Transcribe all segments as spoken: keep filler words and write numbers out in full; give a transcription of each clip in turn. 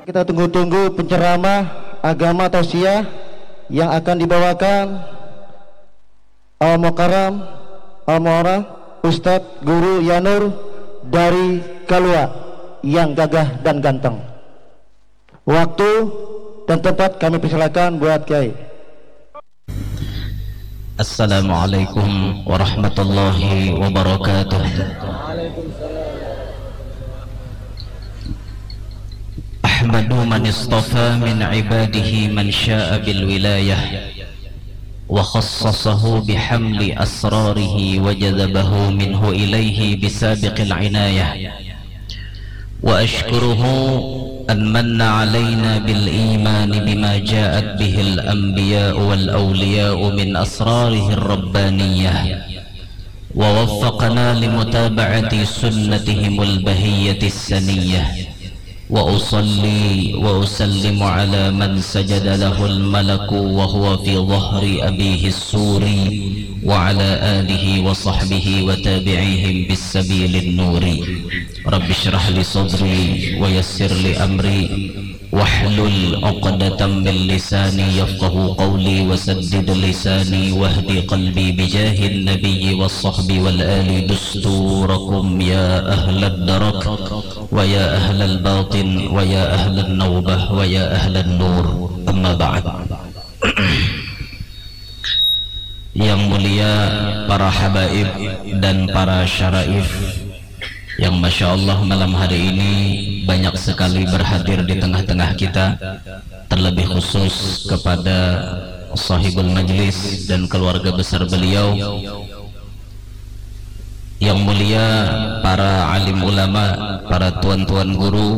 Kita tunggu-tunggu penceramah agama tausiah yang akan dibawakan Al Mukarram Al Muara Ustadz Guru Yanur dari Kalua yang gagah dan ganteng. Waktu dan tempat kami persilakan buat Kiai. Assalamualaikum warahmatullahi wabarakatuh. أحمد من اصطفى من عباده من شاء بالولاية وخصصه بحمل أسراره وجذبه منه إليه بسابق العناية وأشكره أن من علينا بالإيمان بما جاءت به الأنبياء والأولياء من أسراره الربانية ووفقنا لمتابعة سنتهم البهية السنية وأصلي وأسلم على من سجد له الملك وهو في ظهر أبيه السور وعلى آله وصحبه وتابعيهم بالسبيل النور. رب اشرح لي صدري ويسر لي أمري واحلل عقدة من لساني يفقه قولي وسدد لساني واهد قلبي بجاه النبي والصحب والآل دستوركم يا أهل الدرك ويا أهل الباطن ويا أهل النوبة ويا أهل النور. أما بعد. Yang mulia para habaib dan para syaraif yang Masya Allah malam hari ini banyak sekali berhadir di tengah-tengah kita, terlebih khusus kepada sahibul majlis dan keluarga besar beliau. Yang mulia para alim ulama, para tuan-tuan guru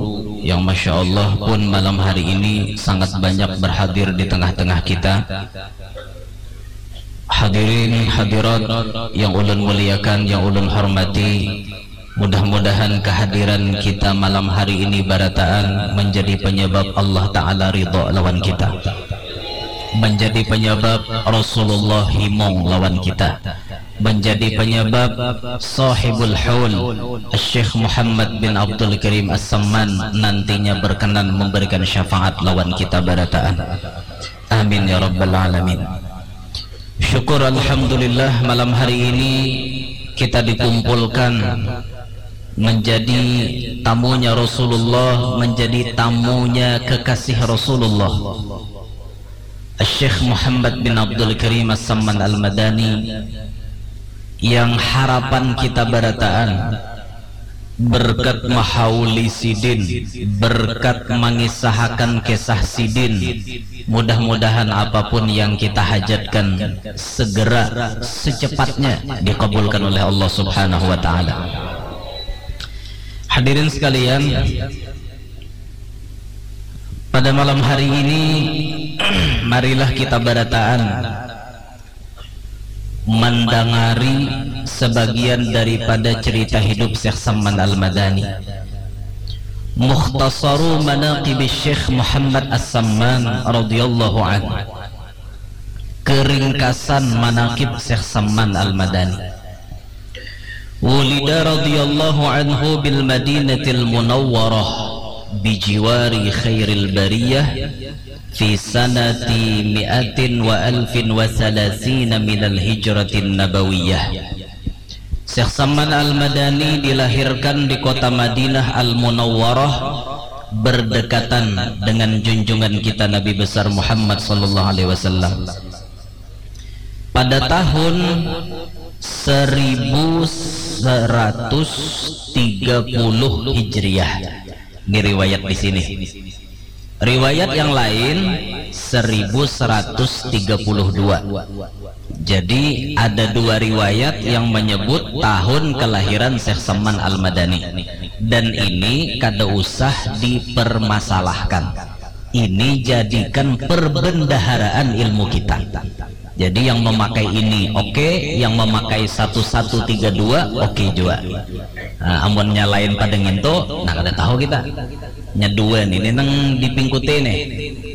yang Masya Allah pun malam hari ini sangat banyak berhadir di tengah-tengah kita. Hadirin hadirat yang ulun muliakan, yang ulun hormati, mudah-mudahan kehadiran kita malam hari ini barataan menjadi penyebab Allah Ta'ala ridha lawan kita, menjadi penyebab Rasulullah himung lawan kita, menjadi penyebab sahibul haul Syekh Muhammad bin Abdul Karim As-Samman nantinya berkenan memberikan syafaat lawan kita barataan. Amin ya rabbal alamin. Syukur alhamdulillah, malam hari ini kita dikumpulkan menjadi tamunya Rasulullah, menjadi tamunya kekasih Rasulullah, Syekh Muhammad bin Abdul Karim As-Samman Al-Madani, yang harapan kita barataan berkat mahauli sidin, berkat mangisahakan kisah sidin, mudah-mudahan apapun yang kita hajatkan segera secepatnya dikabulkan oleh Allah Subhanahu wa Ta'ala. Hadirin sekalian, pada malam hari ini marilah kita barataan mandangari sebagian daripada cerita hidup Syekh Samman Al-Madani. Mukhtasaru Manaqib Syekh Muhammad As-Samman radhiyallahu anhu. Keringkasan manaqib Syekh Samman Al-Madani. Wulida radhiyallahu anhu bil Madinatil Munawwarah bijiwari khairil bariyah fi sanati mi'atin wa alfin wa salasina minal hijratin nabawiyah. Syekh Samman Al-Madani dilahirkan di kota Madinah Al-Munawwarah berdekatan dengan junjungan kita Nabi besar Muhammad sallallahu alaihi wasallam. Pada tahun seribu seratus tiga puluh Hijriah. Ini riwayat di sini. Riwayat yang lain seribu seratus tiga puluh dua. Jadi ada dua riwayat yang menyebut tahun kelahiran Syekh Saman Al-Madani. Dan ini kada usah dipermasalahkan. Ini jadikan perbendaharaan ilmu kita. Jadi yang memakai ini oke, yang memakai satu satu tiga dua oke jua. Nah, amunnya lain pada ngintu, nah kada tahu kita. Nya dua nih, ini nang dipingkuti nih.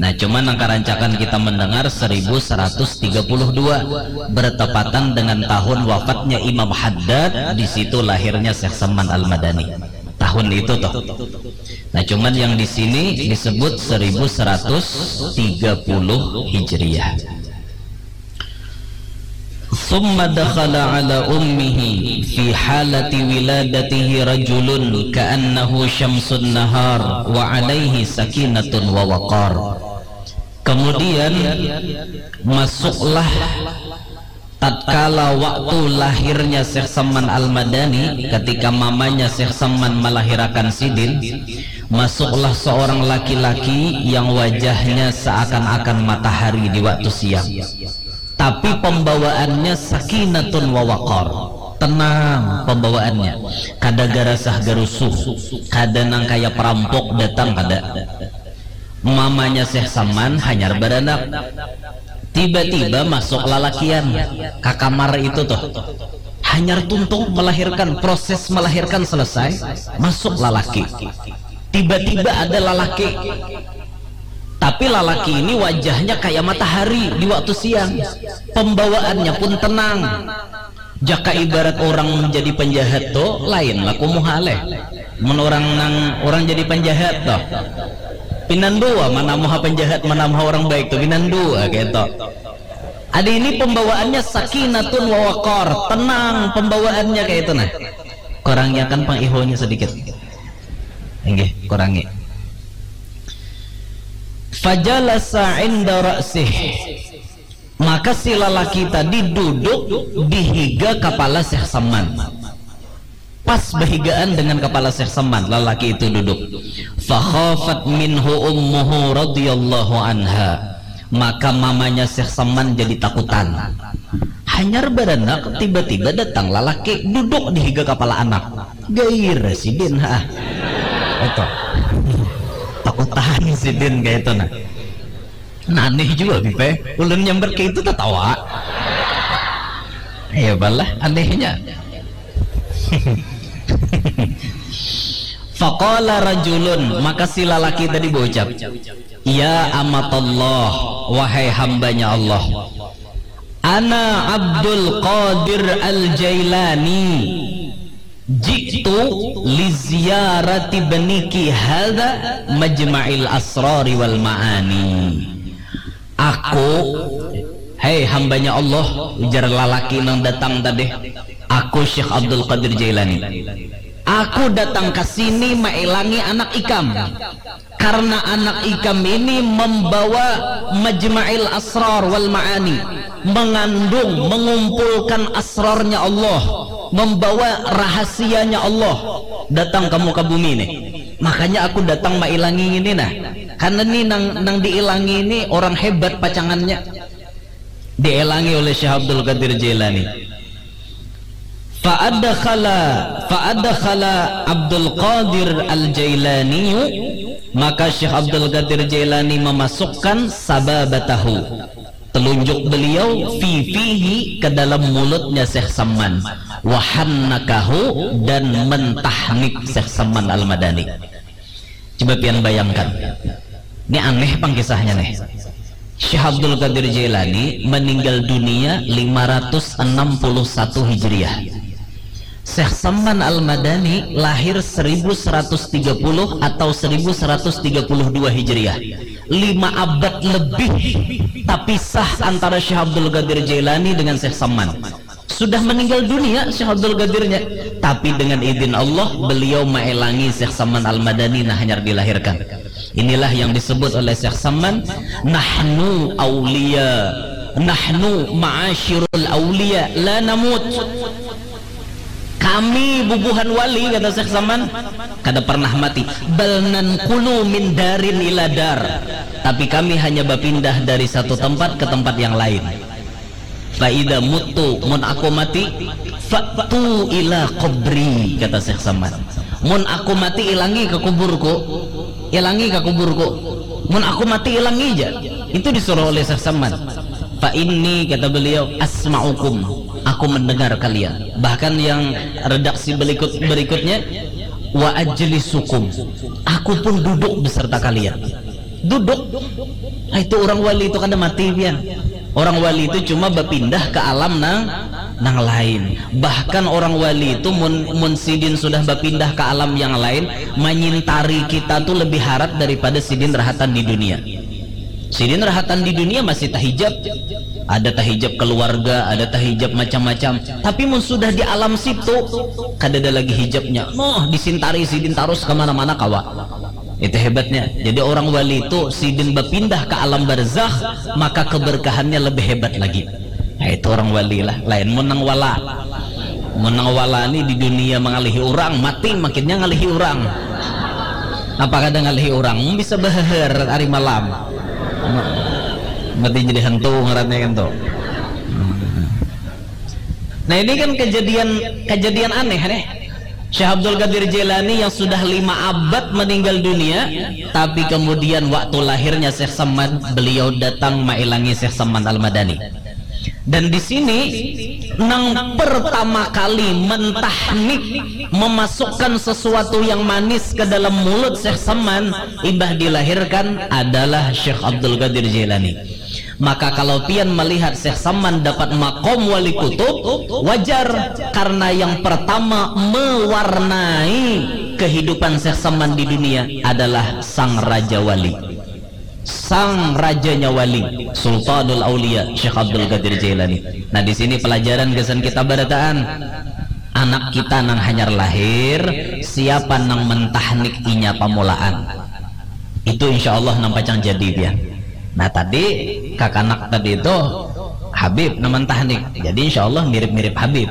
Nah, cuman nang karancakan kita mendengar seribu seratus tiga puluh dua, bertepatan dengan tahun wafatnya Imam Haddad, di situ lahirnya Syekh Saman Al-Madani. tahun itu toh. Nah, cuman yang di sini disebut seribu seratus tiga puluh Hijriah. Summa dakhala ala ummihi fi halati wiladatihi rajulun ka'annahu syamsun nahar wa alaihi sakinatun wa waqar. Kemudian masuklah tatkala waktu lahirnya Syekh Saman Al-Madani, ketika mamanya Syekh Saman melahirakan sidin, masuklah seorang laki-laki yang wajahnya seakan-akan matahari di waktu siang. Tapi pembawaannya sakinatun wa waqar. Tenang pembawaannya. Kada garasah garusuh. Kada nang kaya perampok datang, kada. Mamanya Syekh Saman hanyar baranak. Tiba-tiba masuk lalakian ka kamar itu tuh. Hanyar tuntung melahirkan, proses melahirkan selesai, masuk lalaki. Tiba-tiba ada lalaki. Tapi lalaki ini wajahnya kayak matahari di waktu siang. Pembawaannya pun tenang. Jaka ibarat orang jadi penjahat tuh, lain laku muha leh. Mun orang nang, orang jadi penjahat tuh, pinandua mana muha penjahat, mana muha orang baik tuh, pinandua gitu. Ada ini pembawaannya sakinatun wa waqar, tenang pembawaannya kayak itu nah. Kurangiakan pang ihonya sedikit. Inggih, kurangi. Fajalasa inda ra'sih. Maka si lalaki tadi duduk di higa kapala Syekh Saman. Pas behigaan dengan kapala Syekh Saman, lalaki itu duduk. Fakhafat minhu ummuhu radhiyallahu anha. Maka mamanya Syekh Saman jadi takutan. Hanyar baranak, tiba-tiba datang lalaki duduk di higa kapala anak. Gair sidin ha. Itu. Takutan sidin kayak itu nah. Nah, aneh juga Bipe. Ulun nyambat kayak itu tatawa. Ya balah anehnya. Faqala rajulun, maka si lalaki tadi berucap, "Ya amatallah, wahai hambanya Allah, ana Abdul Qadir Al-Jailani, ji'tu li ziyarati baniki hadza majma'il asrari wal ma'ani." Aku, hei hambanya Allah, ujar lalaki nang datang tadi, aku Syekh Abdul Qadir Jailani. Aku datang ke sini mailangi anak ikam. Karena anak ikam ini membawa majma'il asrar wal ma'ani, mengandung, mengumpulkan asrarnya Allah, membawa rahasianya Allah datang ke muka bumi ini. Makanya aku datang mailangi ini nah. Karena ini nang, nang diilangi ini orang hebat pacangannya. Diilangi oleh Syekh Abdul Qadir Jailani. Fa'adkhala fa'adkhala Abdul Qadir Al-Jailani, maka Syekh Abdul Qadir Jailani memasukkan sababatahu, telunjuk beliau, fi fihi, ke dalam mulutnya Syekh Saman, wahannakahu, dan mentahnik Syekh Saman Al-Madani. Coba pian bayangkan. Ini aneh pang kisahnya nih. Syekh Abdul Qadir Jailani meninggal dunia lima ratus enam puluh satu Hijriah. Syekh Saman Al-Madani lahir seribu seratus tiga puluh atau seribu seratus tiga puluh dua Hijriah. Lima abad lebih tapisah antara Syekh Abdul Qadir Jailani dengan Syekh Saman. Sudah meninggal dunia Syekh Abdul Qadirnya, tapi dengan izin Allah beliau mailangi Syekh Saman Al-Madani nah hanyar dilahirkan. Inilah yang disebut oleh Syekh Saman, "Nahnu aulia, nahnu ma'asyirul aulia la namut." Kami bubuhan wali, kata Syekh Saman, kada pernah mati. "Bal nanqulu min darin ila dar." Tapi kami hanya berpindah dari satu tempat ke tempat yang lain. "Fa idza muttu, mun aku mati, fa'tu ila qabri," kata Syekh Saman. "Mun aku mati, ilangi ke kuburku, ilangi ke kuburku. Mun aku mati, ilangi aja." Itu disuruh oleh Syekh Saman. "Fa inni," kata beliau, "asma'ukum, aku mendengar kalian." Bahkan yang redaksi berikut berikutnya, "Wa ajlisukum, aku pun duduk beserta kalian." Duduk. Ah, itu orang wali itu kada mati pian. Orang wali itu cuma berpindah ke alam nang nang lain. Bahkan orang wali itu mun, mun sidin sudah bapindah ke alam yang lain, manyintari kita tuh lebih harat daripada sidin rahatan di dunia. Sidin rahatan di dunia masih tahijab, ada tahijab keluarga, ada tahijab macam-macam. Tapi mun sudah di alam situ, kadada lagi hijabnya. Noh, disintari sidin tarus kemana-mana kawa. Itu hebatnya. Jadi orang wali itu sidin bapindah ke alam barzakh, maka keberkahannya lebih hebat lagi. Nah, itu orang wali lah. Lain mun nang wala. Mun nang wala ni di dunia mangalihi urang, mati makinnya ngalihi urang. Apa kada ngalihi urang? Bisa beheher hari malam. Mati jadi hantu ngarannya kan tuh. Nah, ini kan kejadian, kejadian aneh nih. Syekh Abdul Qadir Jailani yang sudah lima abad meninggal dunia, tapi kemudian waktu lahirnya Syekh Saman, beliau datang mailangi Syekh Saman Al-Madani. Dan di sini nang pertama kali mentahnik, memasukkan sesuatu yang manis ke dalam mulut Syekh Saman, imbah dilahirkan adalah Syekh Abdul Qadir Jailani. Maka kalau pian melihat Syekh Saman dapat makom wali kutub, wajar, karena yang pertama mewarnai kehidupan Syekh Saman di dunia adalah sang raja wali. Sang rajanya wali, Sultanul Aulia, Syekh Abdul Qadir Jailani. Nah, di sini pelajaran gasan kita barataan. Anak kita nang hanyar lahir, siapa nang mentahnik inya pamulaan? Itu insya Allah nang pacang jadi dia. Nah, tadi kakanak tadi itu Habib nang mentahnik. Jadi insya Allah mirip-mirip Habib.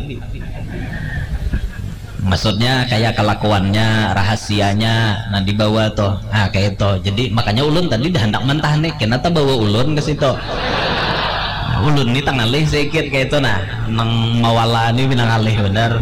Maksudnya kayak kelakuannya, rahasianya, nah dibawa tuh. Nah, kayak itu. Jadi makanya ulun tadi dah hendak mentahnik, kena tabawa ulun ke situ. Nah, ulun ni tangalih sedikit kayak itu nah. Nang mawala ni pinangalih benar.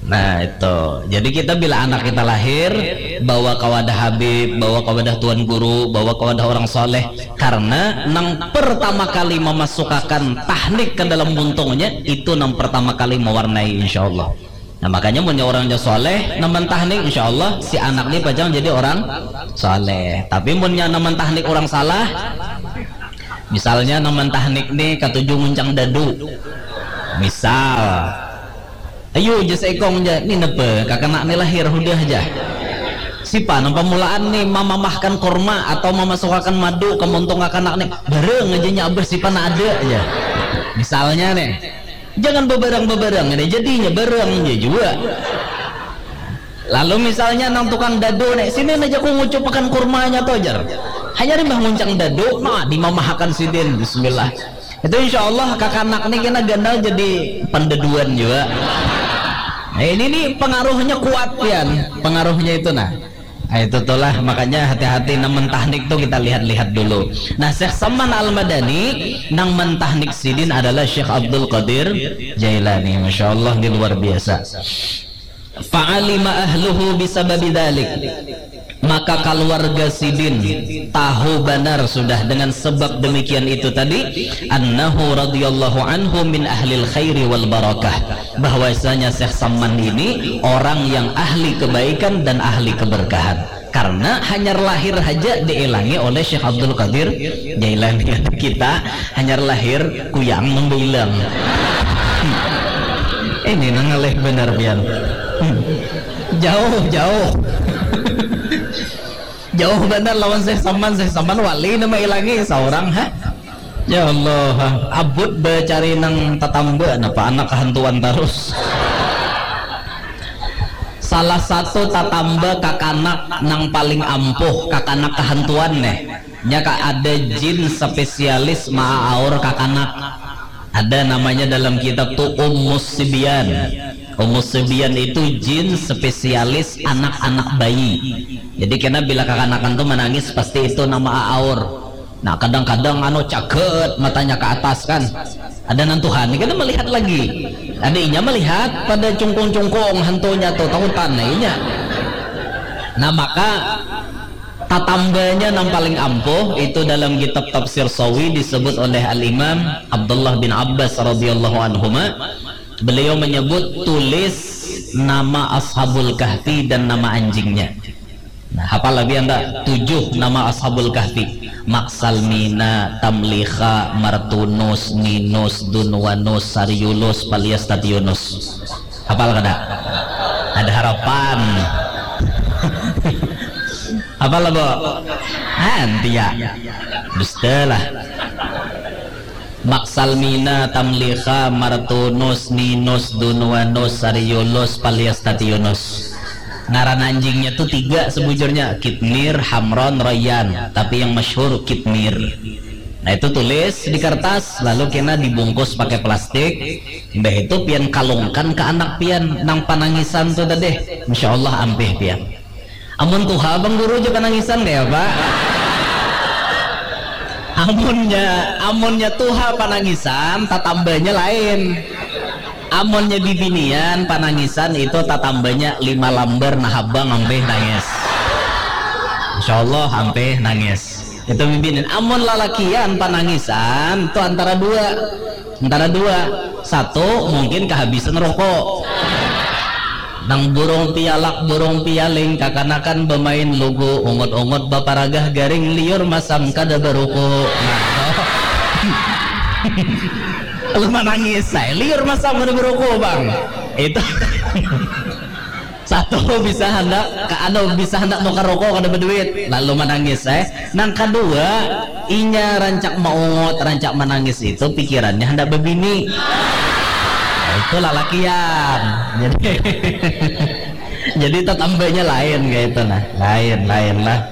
Nah, itu. Jadi kita bila anak kita lahir, bawa ke wadah Habib, bawa ke wadah Tuan Guru, bawa ke wadah orang soleh. Karena nang pertama kali memasukakan tahnik ke dalam buntungnya, itu nang pertama kali mewarnai, insya Allah. Nah, makanya munnya orangnya soleh, nang mentahnik, insya Allah si anak ni pacang jadi orang soleh. Tapi munnya nang mentahnik orang salah, misalnya nang mentahnik ni katuju nguncang dadu, misal, ayu ja seikong ja, ni napa kakana ni lahir hudah ja. Sipa nang pamulaan ni mamamahkan kurma atau mamasukakan madu ka muntung kakanak ni, barang aja nya abah sipa nang ada ja. Misalnya nih, jangan babarang-babarang ini jadinya barang ja jua. Lalu misalnya nang tukang dadu nih, sini aja ku ngucupakan kurmanya tuh jar. Hanya nih bah nguncang dadu, nah dimamahakan sidin, bismillah. Itu insya Allah kakanak ni kena ganal jadi pandaduan jua. Nah, ini nih pengaruhnya kuat pian, pengaruhnya itu nah. Nah, itu tuh lah makanya hati-hati nang mentahnik tuh kita lihat-lihat dulu. Nah, Syekh Saman Al Madani nang mentahnik sidin adalah Syekh Abdul Qadir Jailani. Masya Allah, ini luar biasa. Fa'alima ahluhu bisababi dzalik. Maka kaluarga sidin tahu banar sudah dengan sebab demikian itu tadi, annahu radhiyallahu anhu min ahlil khairi wal barakah, bahwasanya Syekh Saman ini orang yang ahli kebaikan dan ahli keberkahan. Karena hanyar lahir haja diilangi oleh Syekh Abdul Qadir Jailani. Kita hanyar lahir kuyang nang bailang. Ini nang ngalih benar pian. Jauh, jauh. Jauh banar lawan Syekh Saman. Syekh Saman wali nang mailangi saurang ha. Ya Allah, abut bacari nang tatamba napa anak kahantuan tarus. Salah satu tatamba kakanak nang paling ampuh, kakanak kahantuan neh. Nya ka ada jin spesialis maaaur kakanak. Ada namanya dalam kitab tu Ummus Sibyan. Ummus Sibyan itu jin spesialis anak-anak bayi. Jadi kena bila kakanakan tu menangis pasti itu nama aaur. Nah, kadang-kadang anu caget matanya ke atas kan. Ada nang Tuhan ni kada melihat lagi. Ada inya melihat pada cungkung-cungkung hantunya tu takutan nah inya. Nah, maka tatambanya nang paling ampuh itu dalam kitab Tafsir Sawi disebut oleh Al Imam Abdullah bin Abbas radhiyallahu anhuma. Beliau menyebut tulis nama Ashabul Kahfi dan nama anjingnya. Hafal lah pian tak? Tujuh nama Ashabul Kahfi. Maksalmina, Tamlikha, Martunus, Ninus, Dunwanus, Sariulus, Palias Tatiunus. Hafal kada? Ada harapan. Hafal lah, Bo? Antia. Dusta lah. Maksalmina, Tamlikha, Martunus, Ninus, Dunwanus, Sariulus, Palias Tatiunus. Ngaran anjingnya tuh tiga sebujurnya, Kitmir, Hamron, Royan. Tapi yang masyhur Kitmir. Nah, itu tulis di kertas, lalu kena dibungkus pakai plastik. Mbah itu pian kalungkan ke anak pian nang panangisan tuh tadi. Insya Allah ampih pian. Amun tuha bang guru aja panangisan kayak apa? Amunnya, amunnya tuha panangisan, tatambanya lain. Amunnya bibinian panangisan itu tatambanya lima lambar, nah abang ampih nangis. Insya Allah ampih nangis. Itu bibinian. Amun lalakian panangisan itu antara dua. Antara dua. Satu, mungkin kehabisan rokok. Nang burung pialak, burung pialing, kakanakan bamain lugu, ungut-ungut baparagah garing, liur masam kada baruku. Nah, lu manangis, saya liur masam kada baruku, bang. Itu satu bisa hendak, ka-, anu, bisa hendak nukar rokok kada berduit, lalu manangis, eh. Nang kedua, inya rancak maungut, rancak manangis itu pikirannya hendak bebini. Nah, itu lalakian. Jadi, jadi tetambanya lain kayak itu nah. Lain, lain lah.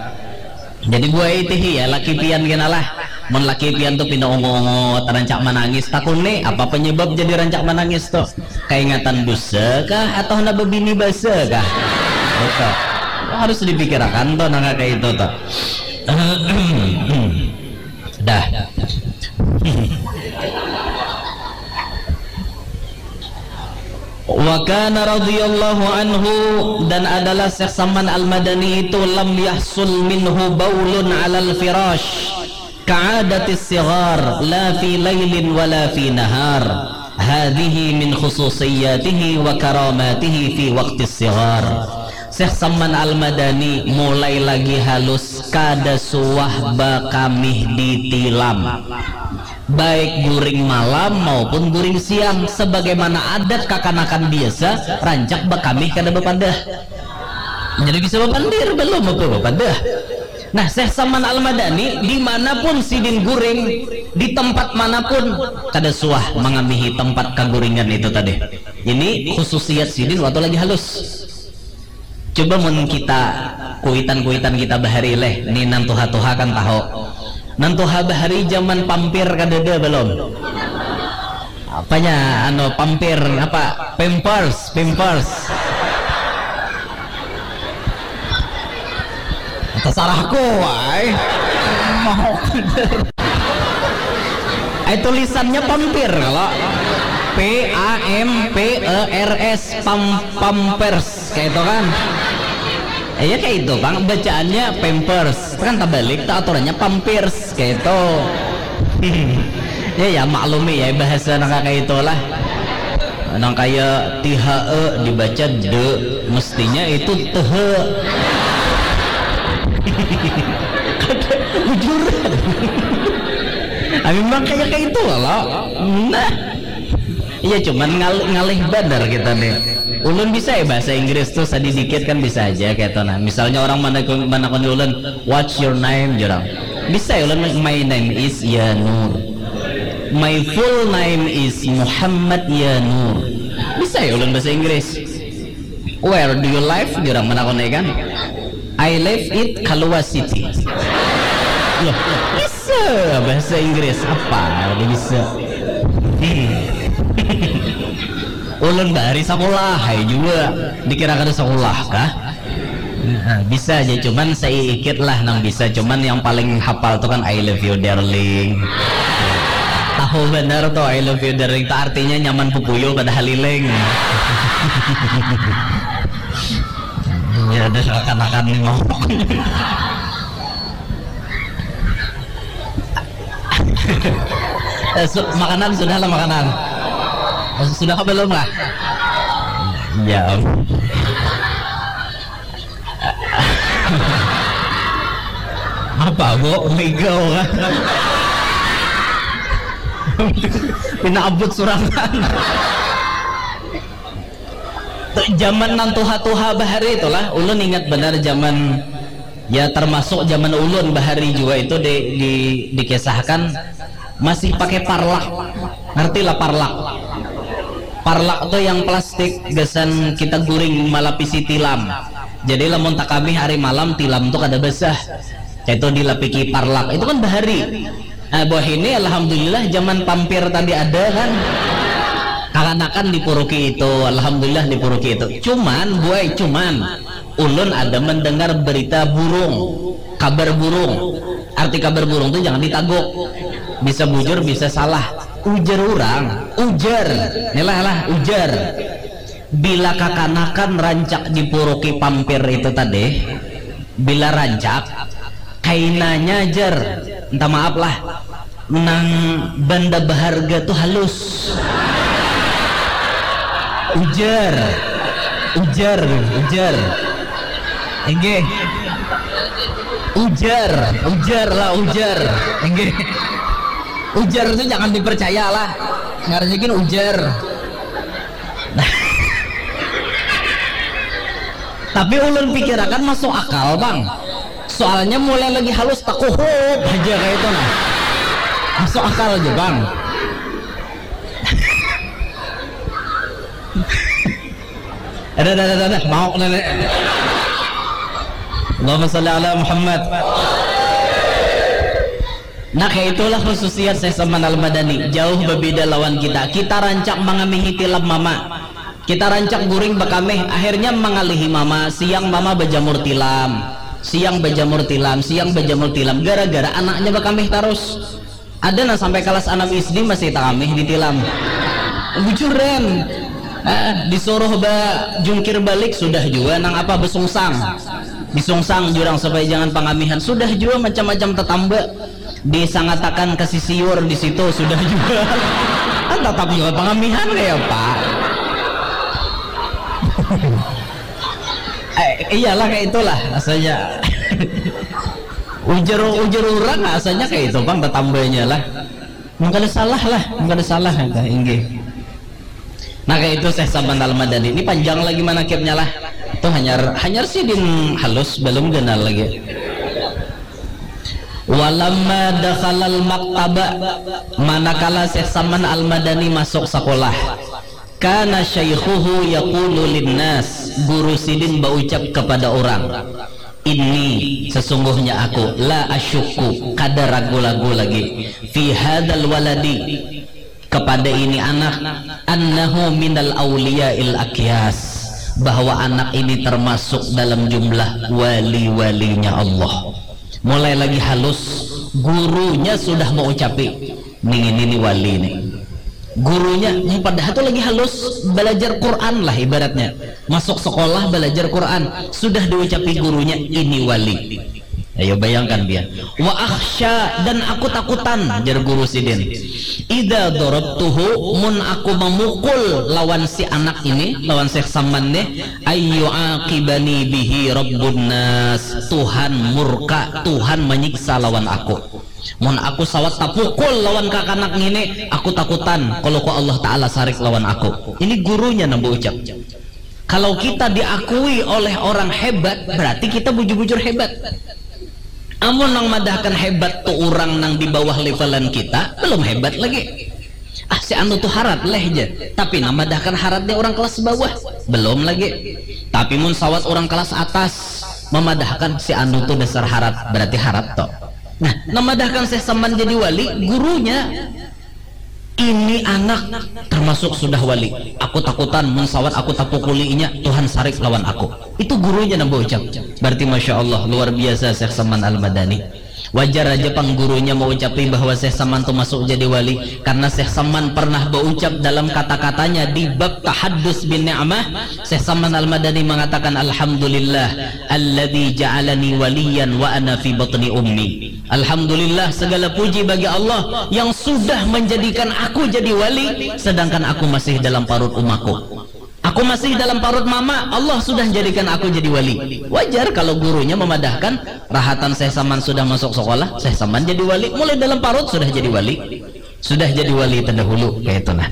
Jadi buai tih ya laki pian kena lah. Mun laki pian tuh pina ungu-ungu, rancak manangis. Takuni apa penyebab jadi rancak manangis tuh? Kaingatan dusa kah atau hendak bebini basa kah? Itu harus dipikirakan tuh nang kayak itu tuh. Dah. Wa kana radhiyallahu anhu, dan adalah Syekh Saman Al-Madani itu, lam yahsul minhu baulun alal firash ka'adatis sighar la fi lailin wa la fi nahar. Hadhihi min khususiyatihi wa karamatihi fi waqtis sighar. Syekh Saman Al-Madani mulai lagi halus kada suah bakamih ditilam. Baik guring malam maupun guring siang, sebagaimana adat kakanakan biasa, rancak bakamih kada bapadah. Jadi bisa bapandir belum apa bapadah. Nah, Syekh Saman Al-Madani dimanapun sidin guring, di tempat manapun, kada suah mangamihi tempat kaguringan itu tadi. Ini khususiat sidin waktu lagi halus. Coba mun kita kuitan-kuitan kita bahari leh, ni nang tuha-tuha kan tahu. Nang tuha bahari zaman pampir kadada belum? Apanya anu pampir apa? Pampers, pampers. Terserahku, wai. Mau Eh tulisannya pampir kalau P A M P E R S pam pampers kayak itu kan. Iya kayak itu bang, bacaannya pampers kan, terbalik tuh aturannya pampirs kayak itu. Ya ya maklumi ya bahasa nang kayak itulah. Nang kayak T H E dibaca de, mestinya itu tehe. Bujur. Amin bang kayak kayak itu lah. Nah. Iya cuman ngal ngalih badar kita nih. Ulun bisa ya bahasa Inggris tuh sedikit kan bisa aja kayak itu nah. Misalnya orang mana mana ulun, what's your name, jurang? Bisa ya ulun, my name is Yanur. My full name is Muhammad Yanur. Bisa ya ulun bahasa Inggris. Where do you live? Jurang mana kau kan? I live it Kalua City. Loh, bisa bahasa Inggris apa? Udah bisa. Ulun dari sekolah, hai juga dikira kada sekolah kah? Nah, bisa aja cuman seikit lah nang bisa, cuman yang paling hafal tuh kan I love you darling. Tahu benar tuh I love you darling tuh artinya nyaman pupuyul pada haliling. Ya ada kanakan nih mau. Eh, su- makanan sudah lah makanan. Sudah ke belum lah? Ya. Apa bo? Mega orang. Pina abut surangan. Tu zaman nang tuha-tuha bahari itulah, ulun ingat banar zaman, ya, termasuk zaman ulun bahari jua itu di, di, dikisahkan masih pakai parlak. Ngerti lah parlak? Parlak tu yang plastik gasan kita guring malapisi tilam. Jadi lamun takamih hari malam, tilam tu kada basah. Kaitu dilapiki parlak. Itu kan bahari. Nah, buah ini alhamdulillah zaman pampir tadi ada kan. Kakanakan dipuruki itu, alhamdulillah dipuruki itu. Cuman, buai, cuman ulun ada mendengar berita burung, kabar burung. Arti kabar burung tu jangan ditaguk. Bisa bujur, bisa salah. Ujar orang, ujar. Nelah lah, ujar. Bila kakanakan rancak dipuruki pampir itu tadi, bila rancak, kainanya jar, minta maaf lah, nang benda berharga tu halus. Ujar, ujar, ujar. Inggih. Ujar, ujar lah, ujar. Inggih. Ujar tu jangan dipercaya lah. Ngarannya gin ujar. Tapi ulun pikirakan masuk akal, Bang. Soalnya mulai lagi halus, takuhup aja kayak itu, nah. Masuk akal aja, Bang. Ada, ada, ada, ada. Mau nenek. Allahumma salli ala Muhammad. Nah, kayak itulah khususiat Syekh Saman Al-Madani. Jauh berbeda lawan kita. Kita rancak mangamihi tilam mama. Kita rancak guring bakamih. Akhirnya mangalihi mama. Siang mama bajamur tilam. Siang bajamur tilam. Siang bajamur tilam. Gara-gara anaknya bakamih tarus. Ada nah sampai kelas enam S D masih takamih di tilam. Bujuran. Ah, disuruh ba jungkir balik sudah juga nang apa besungsang. Disungsang jurang supaya jangan pangamihan. Sudah juga macam-macam tetamba. Disangatakan ke sisiur di situ sudah juga. Kan tetap juga pangamihan kayak apa? Eh, iyalah kayak itulah rasanya. Ujar ujar orang rasanya kayak itu bang tetambanya lah. Mungkin salah lah, mungkin salah ada inggih. Nah kayak itu Syekh Saman Al Madani ini panjang lagi manakibnya lah. Tuh hanyar hanyar sidin halus belum kenal lagi. Walamma dakhalal maktaba, manakala Syekh Saman Al Madani masuk sekolah, kana syaikhuhu yaqulu linnas, guru sidin baucap kepada orang, ini sesungguhnya aku la asyukku, kada ragu-ragu lagi, fi hadal waladi, kepada ini anak, annahu minal auliyail akyas, bahwa anak ini termasuk dalam jumlah wali-walinya Allah. Mulai lagi halus, gurunya sudah mengucapi, ning ini ni wali ni. Gurunya, padahal tu lagi halus, belajar Quran lah ibaratnya. Masuk sekolah belajar Quran, sudah diucapi gurunya ini wali. Ayo bayangkan dia. Wa akhsya, dan aku takutan, jar guru sidin. Idza darabtuhu, mun aku memukul lawan si anak ini, lawan Syekh Saman nih, ayu aqibani bihi rabbun nas. Tuhan murka, Tuhan menyiksa lawan aku. Mun aku sawat tapukul lawan kakanak ngini, aku takutan kalau ku Allah Ta'ala sarik lawan aku. Ini gurunya nang baucap. Kalau kita diakui oleh orang hebat, berarti kita bujur-bujur hebat. Amun nang madahkan hebat tu orang nang di bawah levelan kita, belum hebat lagi. Ah, si anu tu harat leh ja. Tapi nang madahkan harat ni orang kelas bawah, belum lagi. Tapi mun sawat orang kelas atas memadahkan si anu tu dasar harat, berarti harat to. Nah, nang madahkan Syekh Saman jadi wali, gurunya. Ini anak termasuk sudah wali. Aku takutan mun sawat aku tapukuli inya, Tuhan sarik lawan aku. Itu gurunya nang baucap. Berarti masya Allah luar biasa Syekh Saman Al Madani. Wajar aja pang gurunya maucapi bahwa Syekh Saman tu masuk jadi wali karena Syekh Saman pernah baucap dalam kata-katanya di bab tahaddus bin ni'mah. Syekh Saman Al Madani mengatakan alhamdulillah alladzi ja'alani waliyan wa ana fi batni ummi. Alhamdulillah, segala puji bagi Allah yang sudah menjadikan aku jadi wali, sedangkan aku masih dalam parut umaku. Aku masih dalam parut mama, Allah sudah jadikan aku jadi wali. Wajar kalau gurunya memadahkan, rahatan Syekh Saman sudah masuk sekolah, Syekh Saman jadi wali, mulai dalam parut sudah jadi wali. Sudah jadi wali terdahulu, kayak itu nah.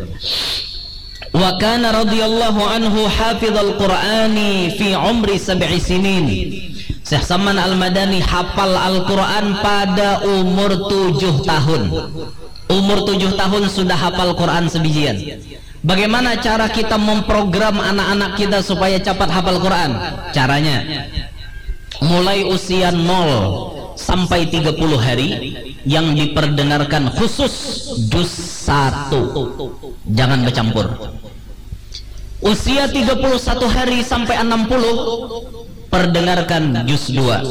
Wa kana radhiyallahu anhu hafizal Qur'ani fi umri sab'i sinin. Syekh Saman Al-Madani hafal Al-Quran pada umur tujuh tahun. Umur tujuh tahun sudah hafal Quran sebijian. Bagaimana cara kita memprogram anak-anak kita supaya cepat hafal Quran? Caranya, mulai usia nol sampai tiga puluh hari yang diperdengarkan khusus juz satu. Jangan bercampur. Usia tiga puluh satu hari sampai enam puluh, perdengarkan juz dua.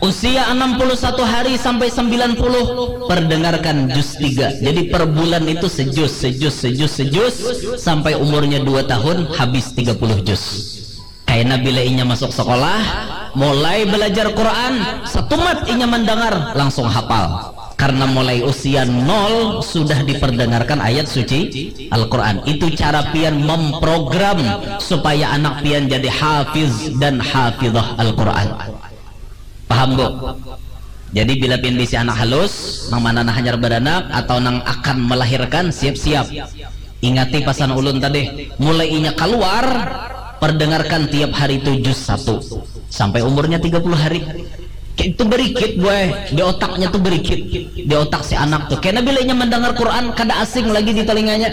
Usia enam puluh satu hari sampai sembilan puluh, perdengarkan juz tiga. Jadi per bulan itu sejuz, sejuz, sejuz, sejuz, sampai umurnya dua tahun, habis tiga puluh juz. Kaina bila inya masuk sekolah, mulai belajar Quran, satumat inya mendengar, langsung hafal. Karena mulai usia nol sudah diperdengarkan ayat suci Al-Quran. Itu cara pian memprogram supaya anak pian jadi hafiz dan hafizah Al-Quran. Paham, Bu? Jadi bila pian bisi anak halus, nang mana nah hanyar beranak atau nang akan melahirkan, siap-siap. Ingati pasan ulun tadi, mulai inya keluar, perdengarkan tiap hari tu juz satu sampai umurnya tiga puluh hari. Kayak itu berikit, boy, di otaknya tuh berikit, di otak si anak tuh. Karena bila inya mendengar Quran, kada asing lagi di telinganya,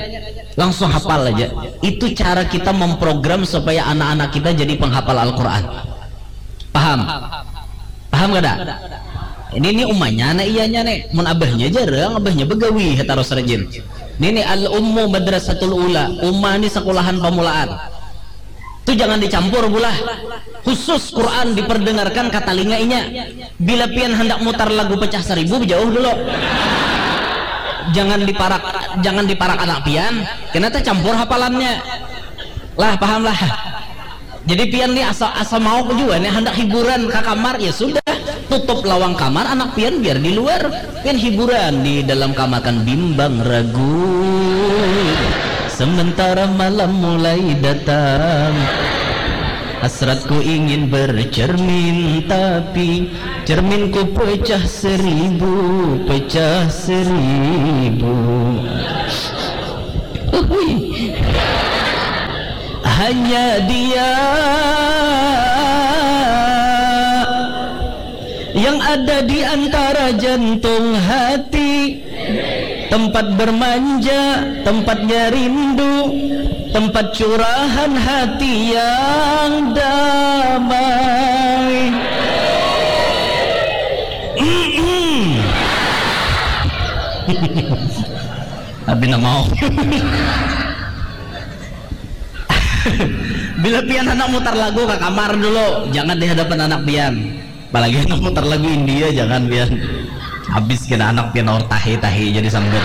langsung hafal aja. Itu cara kita memprogram supaya anak-anak kita jadi penghafal Al-Quran. Paham? Paham kada? Ini nih umanya anak iyanya nih. Mun abahnya jarang, abahnya begawi, tarus rajin. Ini nih al-ummu madrasatul ula, uma nih sekolahan pamulaan. Tu jangan dicampur bulah. Khusus Quran diperdengarkan ka talinga inya. Bila pian handak mutar lagu pecah seribu, jauh dulu. Jangan diparak, jangan diparak anak pian. Kena tercampur hafalannya. Lah, paham lah. Jadi pian nih asa asa mau juga nih handak hiburan ke kamar, ya sudah, tutup lawang kamar, anak pian biar di luar. Pian hiburan di dalam kamar kan bimbang ragu. Sementara malam mulai datang, hasratku ingin bercermin, tapi cerminku pecah seribu, pecah seribu. Uhuy. Hanya dia yang ada di antara jantung hati, tempat bermanja, tempatnya rindu, tempat curahan hati yang damai. Tapi nak mau. Bila pian handak mutar lagu ke kamar dulu, jangan di hadapan anak pian. Apalagi handak mutar lagu India, jangan pian. Habis kena anak pian or tahi-tahi jadi sambut.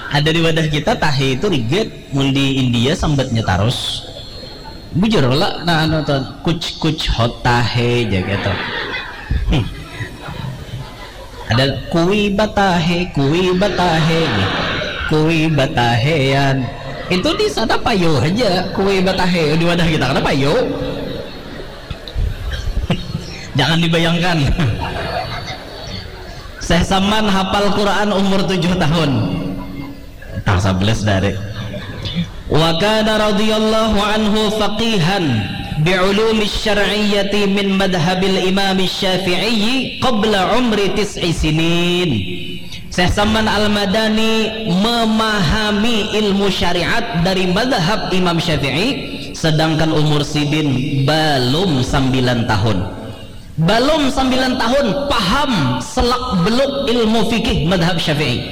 Ada di wadah kita tahi itu rigat, mun di India sambatnya tarus. Bujur lah, nah anu tuh, kuch kuch hota hai, jaga tuh. Hmm. Ada kui batahe, kui batahe, kui batahean. Itu di sana payo aja, kui batahe, di wadah kita kada payo. Jangan dibayangkan. Syekh Saman hafal Quran umur tujuh tahun. Tang sebelas dari. Wa kana radhiyallahu anhu faqihan bi ulumi syar'iyyati min madhabil Imam Syafi'i qabla umri tis'i sinin. Syekh Saman Al-Madani memahami ilmu syariat dari madhab Imam Syafi'i sedangkan umur sidin belum sembilan tahun. Balum sambilan tahun paham selak beluk ilmu fikih madhab syafi'i.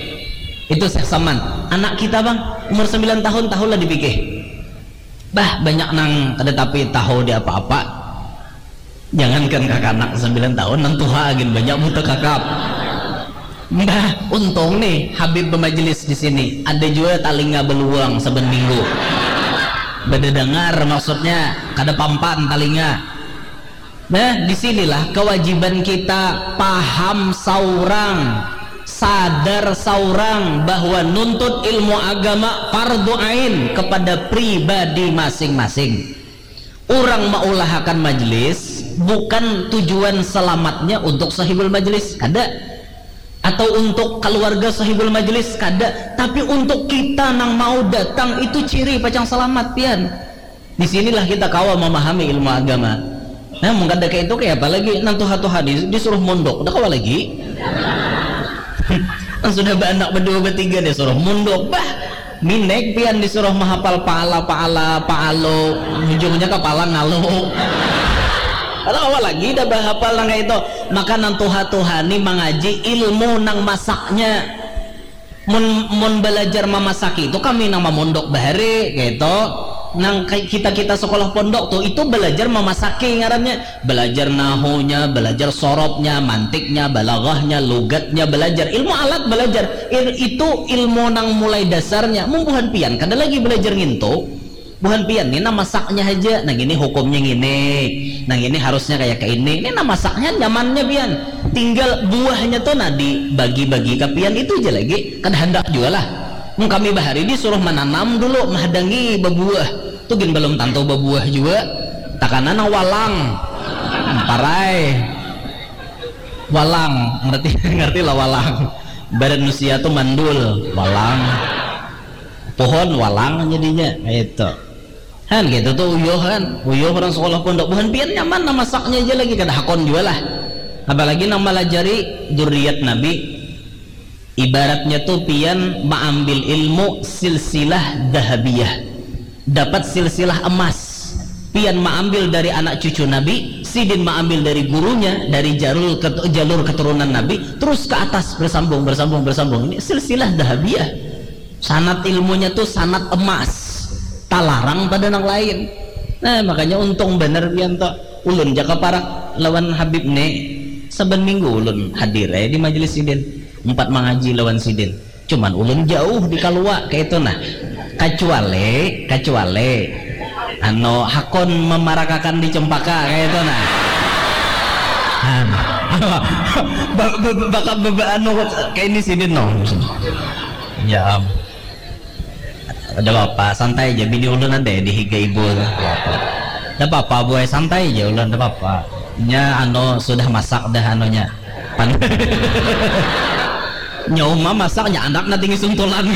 Itu Syekh Saman. Anak kita bang umur sambilan tahun tahulah di fikih. Bah banyak nang kada tapi tahu di apa-apa. Jangankan kakanak sambilan tahun, nang tuha agin banyak buta kakap. Mbah, untung nih Habib bemajelis di sini. Ada juga talinga beluang saban minggu. Bededengar maksudnya, kada pampan talinga. Nah, di sinilah kewajiban kita paham saurang Sadar saurang bahwa nuntut ilmu agama fardu ain kepada pribadi masing-masing. Urang maulahakan majlis bukan tujuan selamatnya untuk sahibul majlis, kada, atau untuk keluarga sahibul majlis, kada, tapi untuk kita nang mau datang itu ciri pacang selamat pian. Di sinilah kita kawa memahami ilmu agama. Nah, mun kada kayak itu, kayak apa lagi? Nang tuha-tuha di, disuruh mondok, udah kawa lagi. Nang sudah beranak berdua bertiga disuruh mondok, bah. Minek pian disuruh menghafal paala paala paalo, ujungnya kepala ngalo. Kalau awal lagi dah bahapal nang kayak itu. Maka nang tuha-tuha ni mengaji ilmu nang masaknya. Mun, mun belajar memasak itu kami nang mamondok bahari gitu. Nang kita kita sekolah pondok tuh itu belajar memasaki ngarannya, belajar nahunya, belajar sorobnya, mantiknya, balaghahnya, lugatnya, belajar ilmu alat, belajar Il, itu ilmu nang mulai dasarnya. Mun buhan pian kada lagi belajar ngintu. Buhan pian ni nang masaknya haja, nang ini hukumnya ngini, nang ini harusnya kayak ke ini. Ini nang masaknya nyamannya pian. Tinggal buahnya tuh nah dibagi-bagi ke pian itu aja lagi. Kada handak juga lah. Mun kami bahari disuruh menanam dulu, menghadangi bebuah. Tuh gin belum tentu bebuah juga. Takana nang walang. Parai. Walang, ngerti ngerti lah walang. Badan manusia tuh mandul, walang. Pohon walang jadinya, itu. Han gitu tuh uyuh, han uyuh orang sekolah pondok, buhan pian nyaman nah masaknya aja lagi, kada hakon jua lah. Apalagi nang malajari juriat Nabi, ibaratnya tuh pian maambil ilmu silsilah dahabiyah, dapat silsilah emas. Pian maambil dari anak cucu Nabi, sidin maambil dari gurunya, dari jalur jalur keturunan Nabi, terus ke atas bersambung bersambung bersambung, ini silsilah dahabiyah. Sanat ilmunya tuh sanat emas, talarang pada nang lain. Nah, makanya untung bener pian tuh. Ulun jaka parak lawan Habib nih, saban minggu ulun hadir eh di majelis sidin, empat mangaji lawan sidin. Cuman ulun jauh di kalua kayak itu nah. Kecuali kecuali anu hakon memarakakan di cempaka kayak itu nah. Anu, anu, baka bebe anu kayak ini sidin no. Ya am. Ada apa, santai aja, bini ulun ada di higa ibu. Ada apa-apa, buai, santai aja ulun, ada apa-apa. Nya anu sudah masak dah anunya. Pan nya uma masak, nya anak na tinggi suntulan.